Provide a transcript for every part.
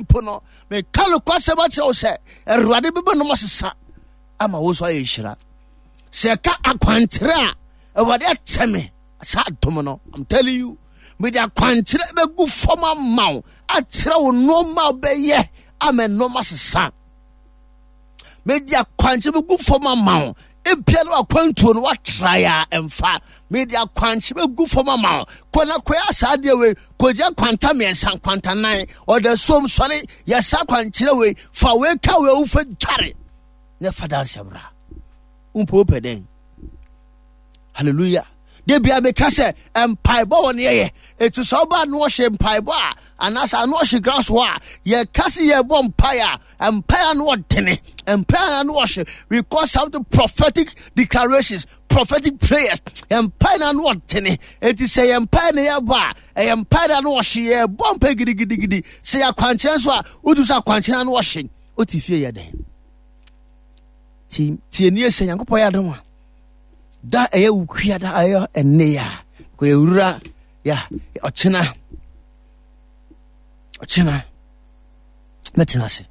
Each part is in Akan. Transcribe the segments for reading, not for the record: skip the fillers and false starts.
mpo no, meka nokwasɛm akyerɛ wo sɛ Awurade bɛbɛ nom asesa ama wo nso ayɛ nhyira. Sɛ ɛka akwankyerɛ a, Awurade akyɛ me saa adom no. I'm telling you, mede akwankyerɛ bɛgu fam ama wo akyerɛ wo nneɛma a wobɛyɛ ama nneɛma sesa. Mede akwankyerɛ bɛgu fam ama wo. Ebia no akwantuo no watrae a ɛmfa. Mede akwankyerɛ bɛgu fam ama wo. Kɔ na kɔyɛ saa adeɛ wei. Kɔgya kwanta mmiɛnsa, kwanta nan. Ɔda suom sɔre, yɛ saa akwankyerɛ wei. Fa wei ka wei wofa dware. Na fa danseɛ bra. Wompo wopɛ dɛn? Hallelujah. Da bia meka sɛ mpaebɔ wɔ ne yɛyɛ. Eti sɛ ɔba ano ɔhyɛ mpaebɔ a anaasɛ ano ɔhyɛ grass hɔ a yɛka se yɛbɔ mpae a mpae ano ɔdene mpae ano ɔhyɛ. We call something prophetic declarations, prophetic prayers. Mpae na ano ɔdene. Eti sɛ yɛ mpae na yɛbɔ a ɛyɛ mpae na ano ɔhye yɛbɔ mpae gidigidigidi. Sɛ yɛ akwankyerɛ nso a wotu sɛ akwankyerɛ ano ɔhye. Wote fie yɛ dɛn? Ti tie nie sɛ Nyankopɔn yɛ adom a da ɛyɛ wukua da ɛyɛ ɛnne ya kɔ ewura ya ɔkyena ɔkyena mɛtena ase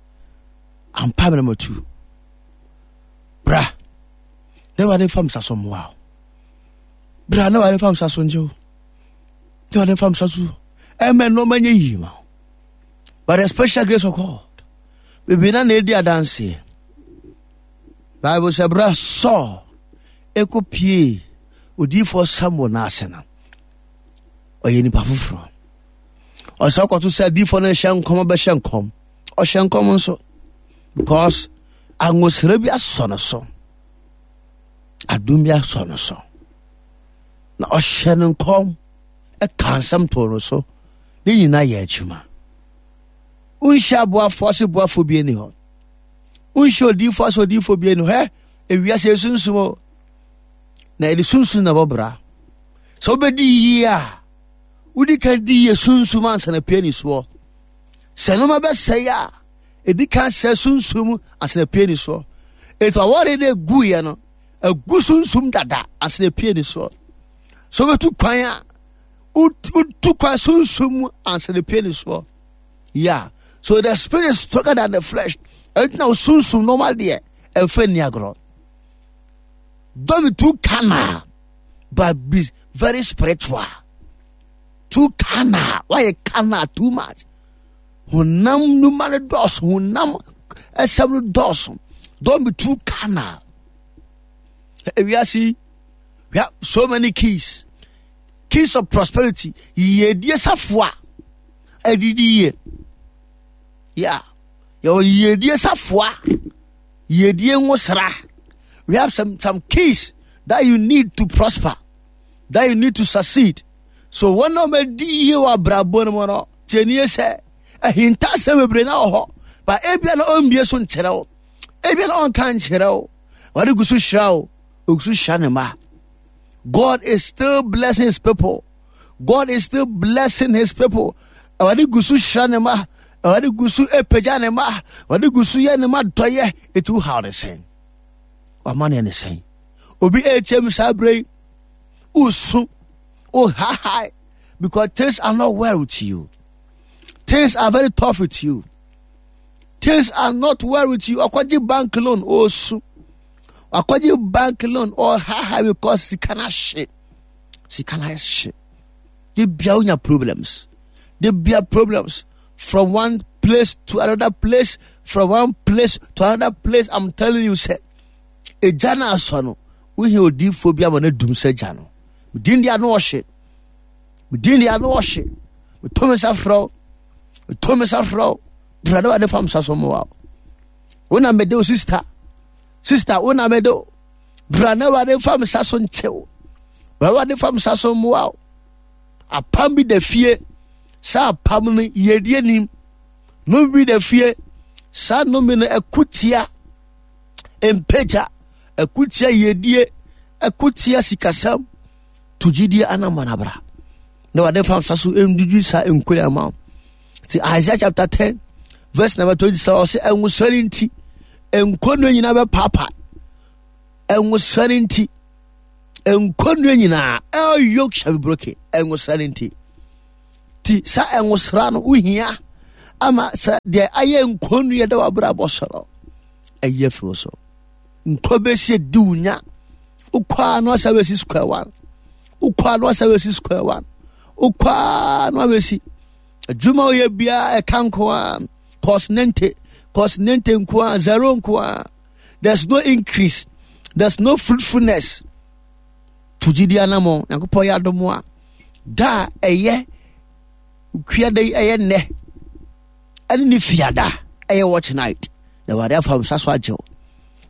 ampa mena matu bra na awurade mfa msa so mmoa wo bra na awurade mfa msa so ngye wo na awurade mfa msa so ɛmɛ nneɛma nyɛ yie ma wo by the special grace of God bebree na na edi adanseɛ Bible sɛ berɛ a Saul ɛkɔpiee odiyifoɔ Samuel no ase no, ɔyɛ nipa foforɔ. Ɔsɛ ɔkɔto sɛ adiyifoɔ no hyɛ nkɔm bɛhyɛ nkɔm. Ɔhyɛ nkɔm nso because angosra bi asɔ no so. Adom bi asɔ no so. Na ɔhyɛ no nkɔm ɛka nsɛm too no so. Ne nyinaa yɛ adwuma. Wonhyɛ aboafoɔ ase boafoɔ bi ani hɔ. Wonhyɛ odiyifoɔ ase odiyifoɔ bi ani hɔ. Hɛ, ewiase esunsum o. Na yɛde sunsum na ɛbɔ bra. Sɛ wobɛdi yie a, wodi kan di yie sunsum ansa na pie ne soɔ. Sɛ nneɛma bɛsɛe a, ɛdi kan sɛ sunsum ansa na pie ne soɔ. Etu awɔre no eguiɛ no, egu sunsum dada ansa na pie ne soɔ. Sɛ wobɛtu kwan a, wotu kwan sunsum ansa na pie ne soɔ. Yeah. So the spirit is stronger than the flesh. Ɛnti na osunsum normal deɛ ɛnfɛ nni agorɔ. Don't be too carnal, but be very spiritual. Too carnal. Why carnal too much? Honam numa no dɔɔso. Honam ɛsɛm no dɔɔso. Don't be too carnal. Ewiase, we have so many keys. Keys of prosperity. Yiedie safoa. Adidi yie. Yeah. Yɛwɔ yiedie safoa. Yiedie nwosra. We have some keys that you need to prosper, that you need to succeed. So wɔn a wɔadi yie wɔ abrabɔ no mu no, tie nie sɛ ahintasɛm bebree na wɔ hɔ, ba ebia na ɔmbie so nkyerɛ wo, ebia na ɔnka nkyerɛ wo, wɔde gu so hyira wo, ogu so hyira ne mma. God is still blessing his people. God is still blessing his people. Awurade gu so hyira ne mma. Awurade gu so apagya ne mma. Awurade gu so yɛ ne mma dɔyɛ. Eti wo haw ne sɛn? Wama ne ne sɛn? Obi etie mi saa bere yi. Usu. Uhahae. Because things are not well with you. Things are very tough with you. Things are not well with you. Ɔkɔgye bank loan osu. Ɔkɔgye bank loan ɔhaha because sika na hye. Sika na hye. De bia wonya problems. De bia problems from one place to another place, from one place to another place. I'm telling you, sɛ egya na asɔ no, wohia odiifoɔ bi ama no adum sɛ gya no. Medin de ano ɔhye. Medin de ano ɔhye. Meto me nsa frɛ wo. Meto me nsa frɛ wo. Bra na wade fam sa so mmoa wo. Wo na mede wo sister. Sister, wo na mede wo. Bra na wade fam sa so nkyɛ wo. Bra wade fam sa so mmoa wo. Apam bi da fie. Saa apam no yɛdi anim. Nnome bi da fie. Saa nnome no ɛko tia mpagya, ɛko tia yɛdie, ɛko tia sikasɛm. To gyidie anamɔ na bra. Na wade fam sa so ndwidwi saa nkure ama wo. Ti Isaiah chapter 10 verse number 27 ɔsɛ ɛnwosɔre nti nkonnwa nyinaa bɛpaapa. Ɛnwosɔre nti nkonnwa nyinaa all yoke shall be broken. Ɛnwosɔre nti ti sa ɛnwosra no wohia. ama sɛ deɛ ayɛ nkonnua da w'abrabɔ so no ɛyi afiri wo so. Nkɔ bɛsi di wo nya. Wokɔ a na wasa bɛsi square one. Wokɔ a na wasa bɛsi square one. Wokɔ a na wabɛsi. Adwuma woyɛ biara ɛka nko a cause nente cause nente nko a zero nko a. There's no increase. There's no fruitfulness. To gyidi anamɔ Nyankopɔn yɛ adom a da a ɛyɛ kuada yi ɛyɛ nnɛ ɛne ne fiada ɛyɛ watch night na Awurade afa nsa so agye wo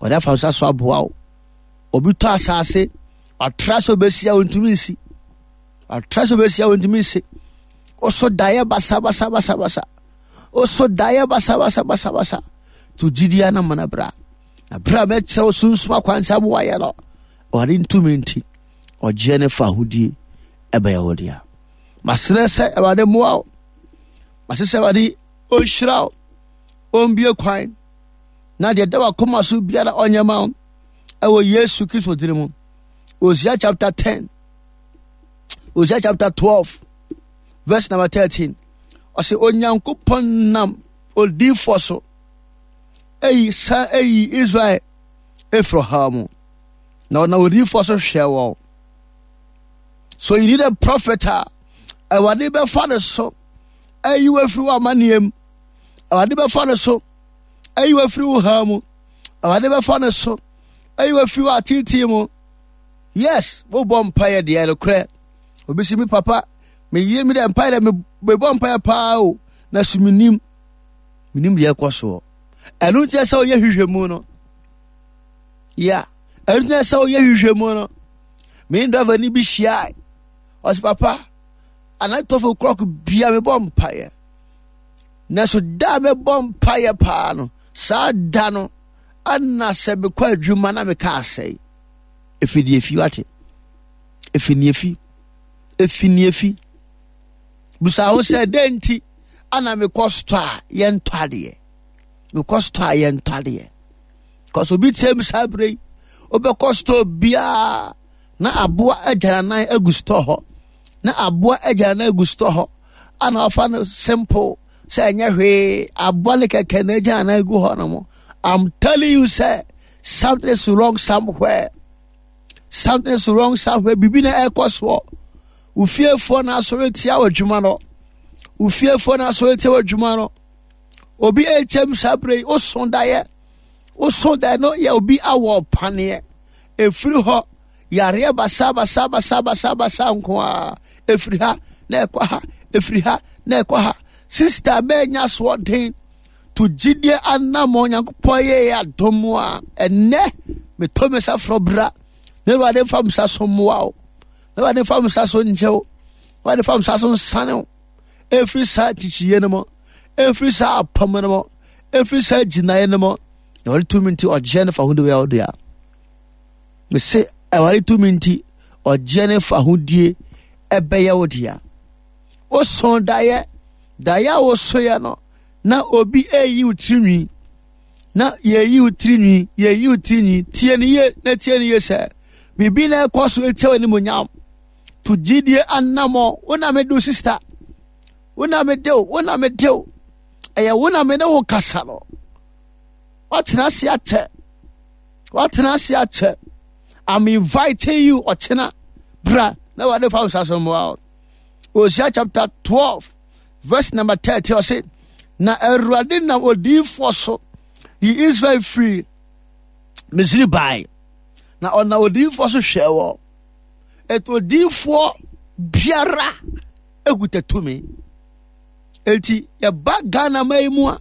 Awurade afa nsa so aboa wo obi tɔ asase watra sɛ obɛsi a ɔntumi nsi watra sɛ obɛsi a ɔntumi nsi ɔso daeɛ basa basa basa basa ɔso daeɛ basa basa basa basa to gyidi anamɔ na bra na bra mɛkyerɛ wo sunsum akwankyɛ aboa yɛ no Awurade ntumi nti ɔgyeɛ ne fa ahodie ɛbɛyɛ wo dea. Masrɛ sɛ Awurade mmoa wo. Masrɛ sɛ Awurade ɔnhyira wo, ɔmbie kwan na deɛ ɛda w'akoma so biara ɔnyɛ ma wo ɛwɔ Yesu Kristo dini mu. Hosea chapter 10, Hosea chapter 12, verse number 13. Ɔsɛ Onyankopɔn nam odiifoɔ so eyi san eyi Israel efiri ɔhaw mu. Na ɔnam odiyifoɔ so hwɛɛ wɔn. So you need a prophet a Awurade bɛfa ne so ayi wo afiri w'amanneɛ mu. Awurade bɛfa ne so ayi wo afiri wo haw mu. Awurade bɛfa ne so ayi wo afiri w'ateetee mu. Yes, wobɔ mpaeɛ deɛ nokorɛ. Obi si mi papa, meyie mi dɛ mpaeɛ dɛ mebɔ mpaeɛ paa o, na so menim. Menim deɛ ɛkɔ soɔ. Ɛno nti sɛ woyɛ hwehwɛmu no. Yeah, ɛno nti sɛ woyɛ hwehwɛmu no. Me ne driver ni bi hyiae. Ɔsɛ papa, anadwo 12 o'clock bia mebɔ mpaeɛ. Nanso da a mebɔ mpaeɛ paa no, saa da no, ɛna sɛ mekɔ adwuma na meka asɛe. Efi deɛ efi wate. Efi ne efi. Efi ne efi. Busa ho sɛ dɛn nti ana mekɔ store a yɛntɔ adeɛ. Mekɔ store a yɛntɔ adeɛ. Kɔsɛ obi tie mi saa berɛ yi, wobɛkɔ store biara na aboa agyananan agu store hɔ. Na aboa agyananan agu store hɔ. Ana wafa no simple sɛ ɛnyɛ hwee aboa ne kɛkɛ na agyananan agu hɔ nom. I'm telling you sɛ something is wrong somewhere. Something is wrong somewhere. Bibi na ɛkɔ soɔ. Wo fiefoɔ na asɔre tia w'adwuma no. Wo fiefoɔ na asɔre tia w'adwuma no. Obi ɛkyɛm saa berɛ yi, woso daeɛ. Woso daeɛ no yɛ obi awɔ paneɛ. Ɛfiri hɔ, yareɛ basa basa basa basa basa nko a. Ɛfiri ha na ɛkɔ ha, ɛfiri ha na ɛkɔ ha. Sista bɛnya soɔden to gyidie anammɔn Nyankopɔn yɛ yɛ adom a ɛnnɛ metɔ me nsa frɔ bra na Awurade mfa me nsa so mmoa wo. Na Awurade mfa me nsa so nkyɛ wo. Awurade mfa me nsa so nsane wo. Ɛmfiri saa nkyekyeeɛ no mu, ɛmfiri saa apam no mu, ɛmfiri saa gyinaeɛ no mu. Awurade tumi nti ɔgyeɛ ne fa ho de bɛyɛ wo dea. Mese Awurade tumi nti ɔgyeɛ ne fa ho die ɛbɛyɛ wo dea. Woso daeɛ, daeɛ a wosoeɛ no, na obi ɛreyi wo tirinwi na yɛyi wo tirinwi yɛyi wo tirinwi tie no yie na tie no yie sɛ biribi na ɛkɔ so etia w'animuonyam to gyidie anammɔ wo na mede wo sista wo na mede wo wo na mede wo ɛyɛ wo na me ne wo kasa no watena ase akyɛ watena ase akyɛ I'm inviting you ɔkyena bra na wade fa wo nsa so mmoa wo Hosea chapter 12 verse number 30 ɔse na awurade nam odiyifoɔ so yi Israel firi Misri bae na ɔnam odiyifoɔ so hwɛɛ wɔ ɛti odiyifoɔ biara ekuta tumi eti yɛba Ghana man yi mu a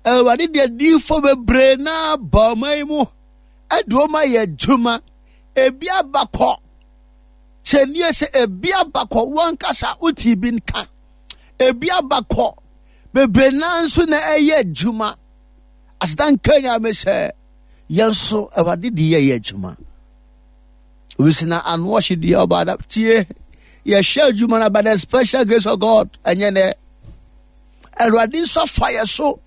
awurade de adiyifoɔ bebree na ba ɔman yi mu ɛde wɔn ayɛ adwuma ebi abakɔ kyɛnie sɛ ebi abakɔ wɔn kasa wote bi nka ebi abakɔ bebree naa nso na ɛyɛ adwuma aseda nka nyame sɛ yɛn nso awurade de yɛyɛ adwuma obi si na ano ɔhye deɛ ɔba da tie yɛhyɛ adwuma no by the special grace of God ɛnyɛ nɛ awurade nso afa yɛ so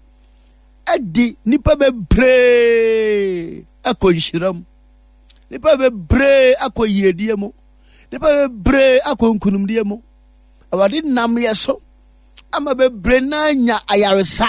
ɛde nipa bebree ɛkɔ nhyira mu nipa bebree akɔ yiedie mu nipa bebree akɔ nkunimdie mu awurade nam yɛ so. Ama bebree no anya ayaresa.